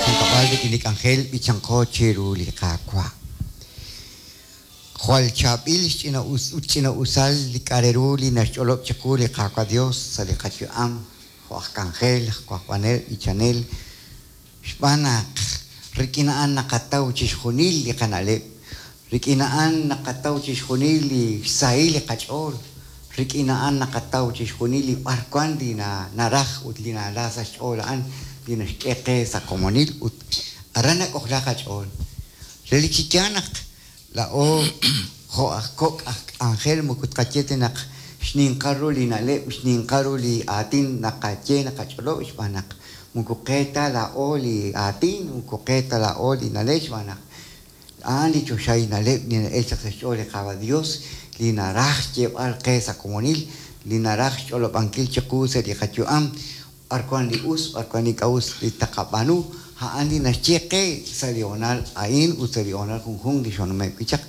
junkab'al rik'in li k'anjel b'ichanqo chiru li Qaawa'. Jwal chaab'il xch'ina'us ut ch'ina'usal li k'a' re ru li naxch'olob' chiqu li Qaawa' Dios sa' li qayu'am jo' aj k'anjel, aj wajb'anel, b'ichanel, xb'aan naq rik'in a'an naqataw chixjunil li qana'leb', rik'in a'an naqataw chixjunil li xsahil li qach'ool, rik'in a'an naqataw chixjunil li b'arwan li naraj ut li nala sa' xch'ool a'an li naxk'e qe sa' komonil ut aran nak'ojla qach'ool. Relik chi yaal naq laa'o jo' aj kok' aj k'anjel moko tqaye ta naq xninqal ru li na'leb', xninqal ru li aatin naqaye naqach'olob' xb'aan naq moko qe ta laa'o li aatin, moko qe ta laa'o li na'leb' xb'aan naq a'an li choxahil na'leb' li na'el chaq sa' xch'ool li Qaawa' Dios li naraj xyeeb'al qe sa' komonil, li naraj xch'olob'ankil chiqu sa' li qayu'am b'ar wan li us, b'ar wan li ink'a' us li taqab'aanu, a'an li naxye qe sa' li hoonal a'in ut sa' li hoonal junjunq li xoonume' wi' chaq.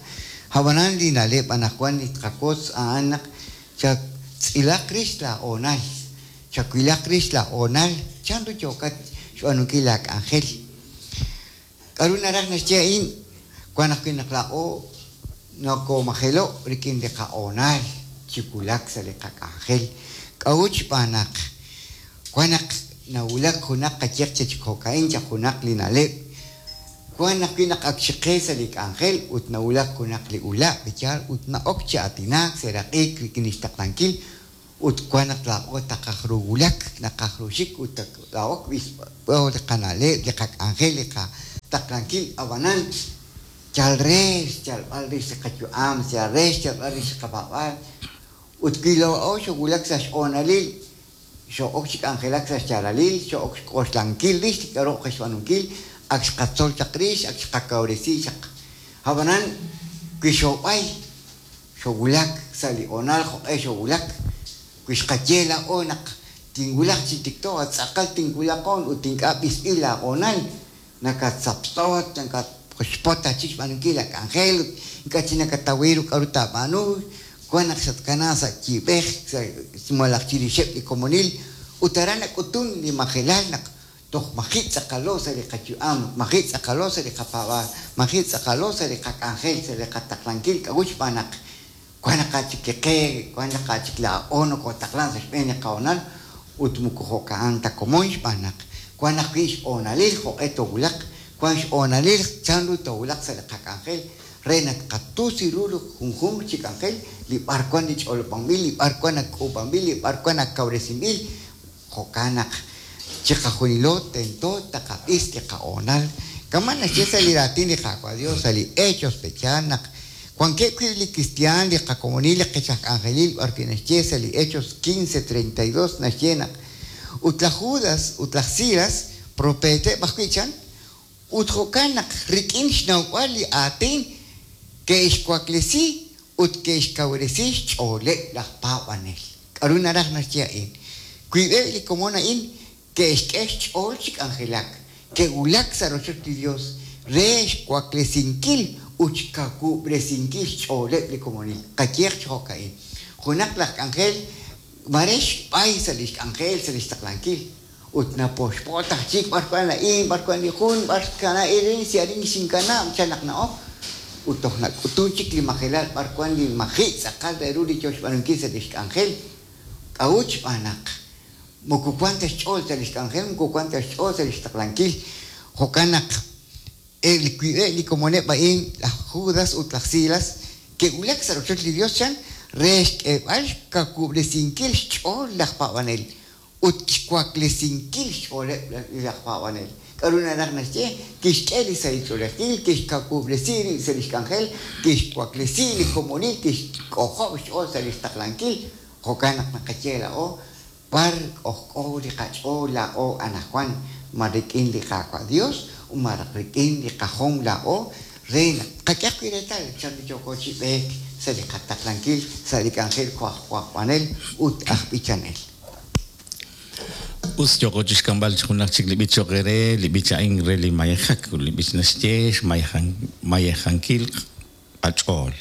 A'b'anan li na'leb' anaqwan li tqawotz a'an naq chatz'ilaq rix laa hoonal, chawilaq rix laa hoonal chan ru yookat xb'aanunkil laa k'anjel. K'a'ru naraj naxye a'in? Wan ajwi' naq laa'o nokomajelo' rik'in li qahoonal chi wulak sa' li qak'anjel. K'a'ut? Xb'aan naq wan naq nawulak junaq qayehaq chi jo'ka'in chaq junaq li na'leb'. Wan ajwi' naq ak xiqe sa' li k'anjel ut nawulak junaq li ula' yaal ut na'ok chi aatinaak, seraq'ik rik'in lix taqlankil ut wan naq laa'o taqaj ru wulak, naqaj ru xik ut laa'o b'isb'o li qana'leb', li qak'anjel, li qataqlankil, ab'anan yal re xyalb'al rix li qayu'am, yal re xyalb'al rix li qapaab'aal. Ut wi laa'o xoowulak sa' xhoonalil, xoo'ok chi k'anjelak sa' xyaalalil, xoo'ok xk'oxlankil rix li k'aru qe xb'aanunkil, ak xqatzol chaq rix, ak xqakawresi chaq. Ab'anan wi xoob'ay, xoowulak sa' li hoonal jo'q'e xoowulak, wi xqaye laa'o naq tinwulaq chi tikto, tz'aqal tinwulaqon ut ink'a' b'isb'il laahoonal, nakatzaptz'ot, nakatxpot chik xb'aanunkil laak'anjel ut ink'a' chik nakataw ru k'aru taab'aanu, wan naq xatkanaak sa' yiib'ej malaj chirixeb' li komonil ut aran nak'utun li majelal naq toj maji' tz'aqalo sa' li qayu'am, maji' tz'aqalo sa' li qapaab'aal, maji' tz'aqalo sa' li qak'anjel, sa' li qataqlankil. K'a'ut? Xb'aan naq wan naq chik li qe, wan naq chik laa'o nokotaqlan sa' xb'een li qahoonal ut moko jo'ka'an ta komon xb'aan naq wan ajwi' xhoonalil jo'q'e toowulaq, wan xhoonalil chanru toowulaq sa' li qak'anjel re naq tqatusi ru li junjunq chi k'anjel li b'arwan li ch'olob'anb'il, li b'arwan ak k'uub'anb'il, li b'arwan ak kawresinb'il. Jo'kan naq chiqajunilo tento taqab'is li qahoonal. Kama' naxye sa' li raatin li Qaawa' Dios sa' li Hechos pe'yaal naq wankeb' wi' li kristiaan, li qakomonil, li qech aj k'anjelil b'ar wi' naxye sa' li Hechos 15:32 naxye naq ut laj Judas ut laj Silas propeeteb' ajwi' chan ut jo'kan naq rik'in xnawb'al li aatin ke'xwaklesi ut ke'xkawresi xch'ooleb' laj paab'anel. K'aru naraj naxye a'in? Wiib'eb' li komon a'in ke'xk'e xch'ool chi k'anjelak, ke'wulak sa' rochoch li Dios re xwaklesinkil ut xkawub'resinkil xch'ooleb' li komonil. Qayehaq chi jo'ka'in, junaq laj k'anjel mare xb'ay sa' li xk'anjel, sa' li xtaqlankil, ut napoxpot aj chik b'ar wan a'in, b'ar wan li jun, b'ar xkana arin, si arin xinkanab', chan naq na'ok, ut toj nak'utun chik li majelal b'ar wan li maji' tz'aqal re ru li yo xb'aanunkil sa' li xk'anjel. K'a'ut? Xb'aan naq moko wan ta xch'ool sa' li xk'anjel, moko wan ta xch'ool sa' li xtaqlankil. Jo'kan naq eb' li wiib'eb' li komoneb' a'in, laj Judas ut laj Silas, ke'wulak sa' rochoch li Dios chan re xk'eeb'al xkawub'resinkil xch'ool laj paab'anel ut xwaklesinkil xch'ooleb' laj paab'anel. K'aru naraj naxye? Kixk'e li sahil ch'oolejil, kixkawub'resi rib' sa' li xk'anjel, kixwaklesi li komonil, kixk'ojob' xch'ool sa' li xtaqlankil. Jo'kan naq naqaye laa'o, b'ar k'ojk'o li qach'ool laa'o anaqwan, ma rik'in li Qaawa' Dios malaj rik'in li qajom laa'o re naq tqak'e ajwi' reetal chanru yooko chi b'eek sa' li qataqlankil sa' li k'anjel jo' aj wajb'anel ut aj b'ichanel. Us yooqo chi xk'amb'al junaq chik li b'ich cho'q eere, li b'ich a'in re li mayejak, ut li b'ich naxye xmayejankil qach'ool.